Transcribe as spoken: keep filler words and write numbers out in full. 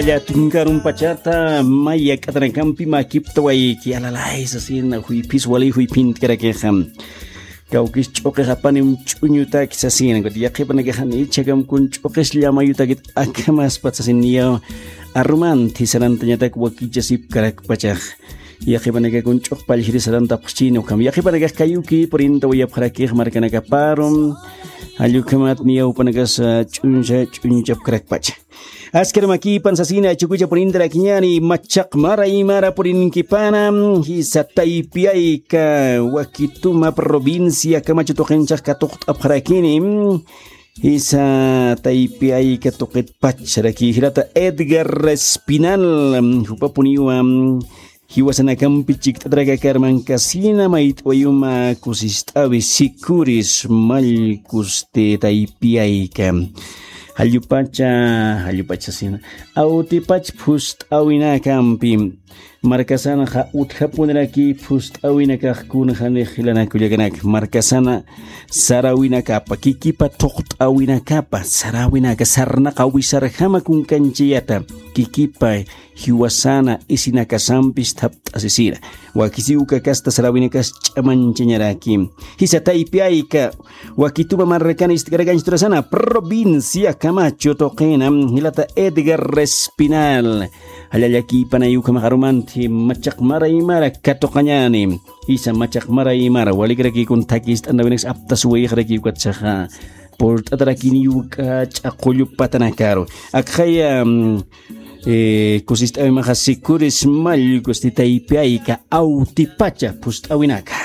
Llatunkarumpachata maya k'atanakampi makiptawayki alalaysa sina juyphis wali juyphintkarakixa. Kawkis ch'uqix apanim ch'uñutaki sasina kuti yaqhipanakaxan ichhakamkun ch'uqis llamayutakit akhamaspat sasin niyaw. Arumanthi sarantañatak wakichasipkarakpachax. Yaqhipanakakun ch'uq pallhiri sarantapxchini ukham yaqhipanakax kayuki purinta wayapxarakix markanakaparum. Jallukhamat niyawpanakas ch'uñcha ch'uñchapkarakpacha. Askar makipan sasina chukucha purintarakiñani machaq mara imara purinkipana. Jisa taypiyayka wakituma provincia kamachu tuqinchax katuqt'apxarakini. Jisa taypiyayka tuqitpacharaki jilata edgar espinal jupapuniwa. Jiwasanakampi chikt'atrakakarmankasina mayt'wayuma kusist'awi sikuris mallkusti taypiyayka. Jallupacha jallupacha sina awtipach phust'awinakampi. Markasanxa utjapuniraki phust'awinakaxkunxanix jilanakullakanak markasana sarawinakapa kikipa thuqt'awinakapa sarawinaka sarnaqa wisarjama kunkanchiyata kikipa jiwasana isinakasampis thapt'asisira. Wakisiw ukakasta sarawinakas ch'amanchañaraki. Jisa taypiyayka wakituma marrakana ist'karakanchturasana provincia kamachu tuqina jilata edgar espinal. Jallallakïpanay ukhamax arumanthi machaq mara imara katuqañäni. Jisa machaq mara imara walikirakïkun thakist'anawinakas aptasuwayixarakï ukatsaxa. Purt'atarakini uka ch'aqullu patanakaru akxaya. Kusist'awimaxa sikuris mallkusti taypiyayka awtipacha phust'awinaka.